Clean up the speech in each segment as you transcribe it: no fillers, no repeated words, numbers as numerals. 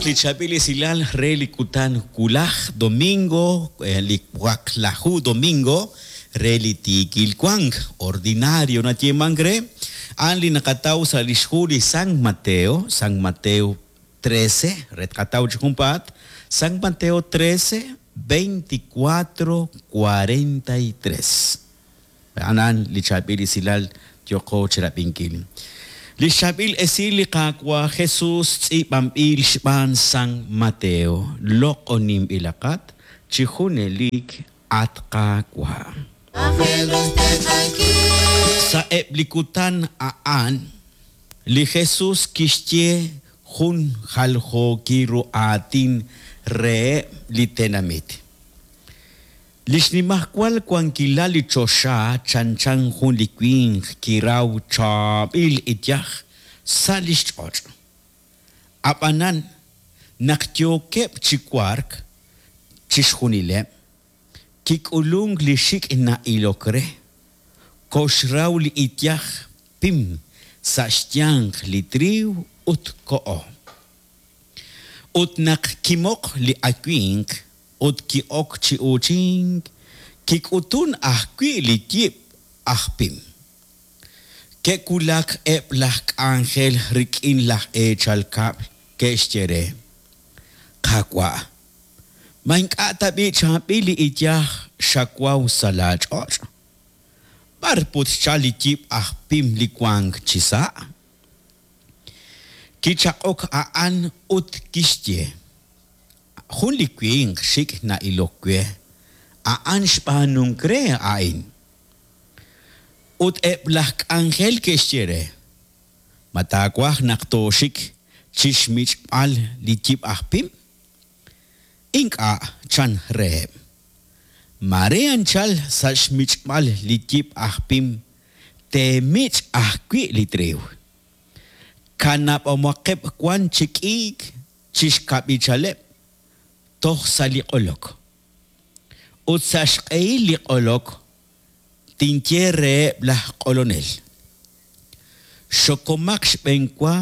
Qab'ihaq li chaab'il esilal re li kutan wulaj domingo, li waqlaju domingo re li tiikil wank, ordinario nayeemank re, a'an li naqataw sa' lix hu li San Mateo, San Mateo 13, re tqataw chi junpaat, San Mateo 13, 24, 43. A'an a'an li chaab'il esilal yooqo chirab'inkil. Li xchaab'il esil li Qaawa' Jesus tz'iib'anb'il xb'aan San Mateo, Loq'oninb'ilaqat chi junelik, at Qaawa'. Sa'eb' li kutan a'an, li Jesus kixye jun jaljookil ru aatin reheb' li tenamit. Li xnimajwal wankilal li choxa chanchan jun li winq kiraw chaab'il iyaj sa' li xch'och'. Ab'anan, naq yookeb' chi wark chixjunileb', kik'ulunk li xik' na'ilok re, koxraw li iyaj pim sa' xyanq li triiw ut koho. Ut naq kimoq li awimq ut ki'ok chi uuchink, kik'utun ajwi' li yib' aj pim. Ke'wulak eb' laj k'anjel rik'in laj eechal kab'l, ke'xye re, Qaawa', ma ink'a' tab'i' chaab'il li iyaj xawaw sa' laach'och'? B'ar put xchalk li yib' aj pim li wank chisa'? Kichaq'ok a'an ut kixye, Jun li winq xik' na'ilok we, a'an xb'aanunk re a'in. Ut eb' laj k'anjel ke'xye re, Ma taawaj naq tooxik chi xmich'b'al li yib' aj pim? Ink'a', chan reheb'. Maare anchal sa' xmich'b'al li yib' aj pim teemich' ajwi' li triiw. Kanab'omaqeb' wan chi k'iik chi xkab'ichaleb' toj sa' li q'olok. Ut sa' xq'ehil li q'olok tinye reheb' laj q'olonel, Xokomaq xb'enwa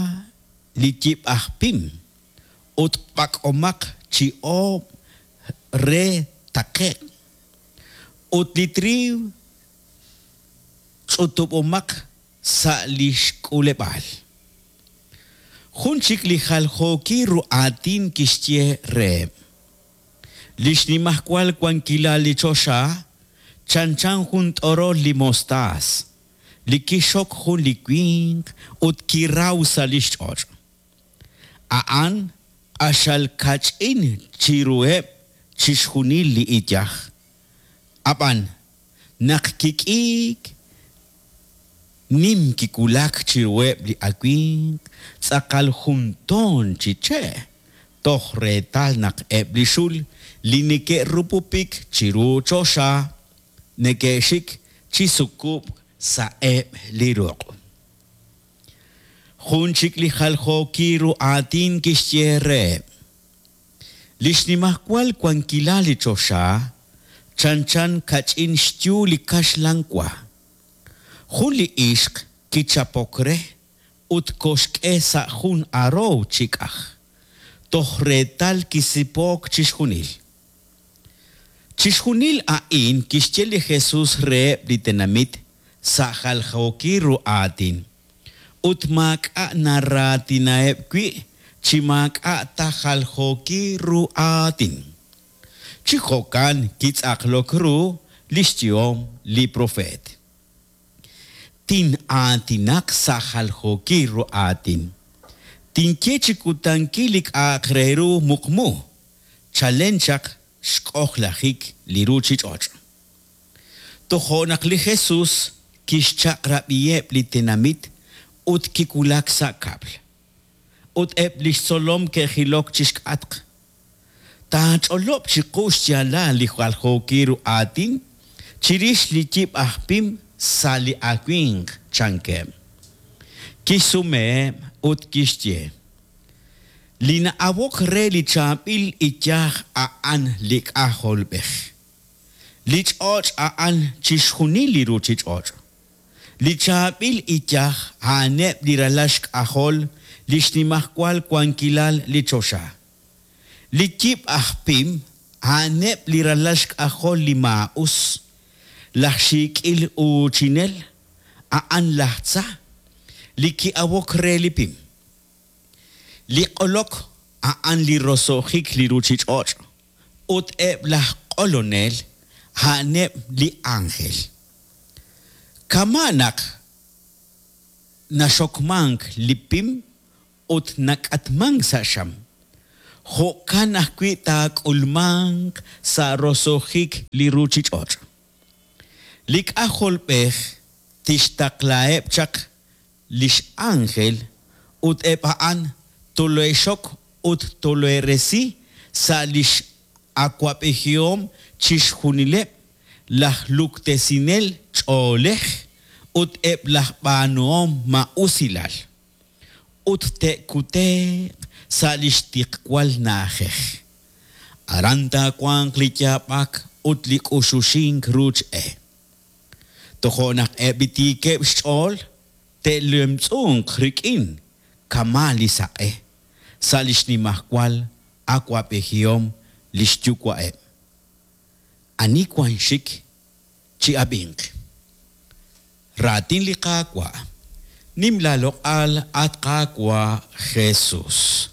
li yib' aj pim ut b'ak'omaq chi oob' re taqe'q, ut li triiw ch'utub'omaq sa' li xk'uleb'aal. Jun chik li jaljookil ru aatin kixye reheb', Li xnimajwal wankilal li choxa chanchan jun t'orol li mostaas li kixxok jun li winq ut kiraw sa' li xch'och'. A'an q'axal kach'in chiruheb' chixjunil li iyaj. Ab'an, naq kik'iik, nim kiwulak chiruheb' li awimq tz'aqal jun toon chi che', toj reetal naq eb' li xul li neke'rupupik chiru choxa neke'xik chi sukub'k sa'eb' li ruq'. Jun chik li jaljookil ru aatin kixye reheb', Li xnimajwal wankilal li choxa chanchan kach'in xyu li kaxlan wa. Jun li ixq kichapok re ut koxk'e sa' jun aroow chi k'aj, toj reetal kisipook chixjunil. Chixjunil a'in kixye li Jesus reheb' li tenamit sa' jaljookil ru aatin, ut maak'a' naraatinaheb' wi' chi maak'a' ta jaljookil ru aatin. Chi jo'kan kitz'aqlok ru li xyehom li propeet. Tin'aatinaq sa' jaljookil ru aatin. Tinye chi kutankil li k'a'aq re ru muqmu, chalen chaq xk'ojlajik li ruuchich'och'. Tojo' naq li Jesus kixchaq'rab'iheb' li tenamit ut kiwulak sa' kab'l. Ut eb' li xtzolom ke'jilok chi xk'atq. Taach'olob' chiqu xyaalal li jaljookil ru aatin chirix li yib' aj pim sa' li awimq, chankeb'. Kixsumeheb' ut kixye, Li na'awok re li chaab'il iyaj a'an li K'ajolb'ej. Li ch'och' a'an chixjunil li ruuchich'och'. Li chaab'il iyaj a'aneb' li ralal xk'ajol li xnimajwal wankilal li choxa. Li yib' aj pim a'aneb' li ralal xk'ajol li maa'us, laj xiik'il uuchinel a'an laj tza li ki'awok re li pim. Li q'olok a'an li roso'jik li ruuchich'och' ut eb' laj q'olonel a'aneb' li ánjel. Kama' naq naxokmank li pim ut nak'atmank sa' xam, jo'kan ajwi' taak'ulmanq sa' roso'jik li ruuchich'och'. Li K'ajolb'ej tixtaqlaheb' chaq li x'ánjel ut eb' a'an tole'xok ut tole'resi sa' li x'awab'ejihom chixjunileb' laj luktesinel ch'oolej ut eb' laj b'aanuhom maa'usilal, ut te'kute'q sa' li xtiqwal na'ajej. Aran taawanq li yaab'ak ut li k'uxuxink ruuch e. Tojo' naq eb' li tiikeb' xch'ool te'lemtz'unq rik'in kama' li saq'e sa' li xnimajwal awa'b'ejihom li xyuwa'eb'. Ani wank xik, chi'ab'inq. Raatin li Qaawa'. Nim laaloq'al, at Qaawa' Jesus.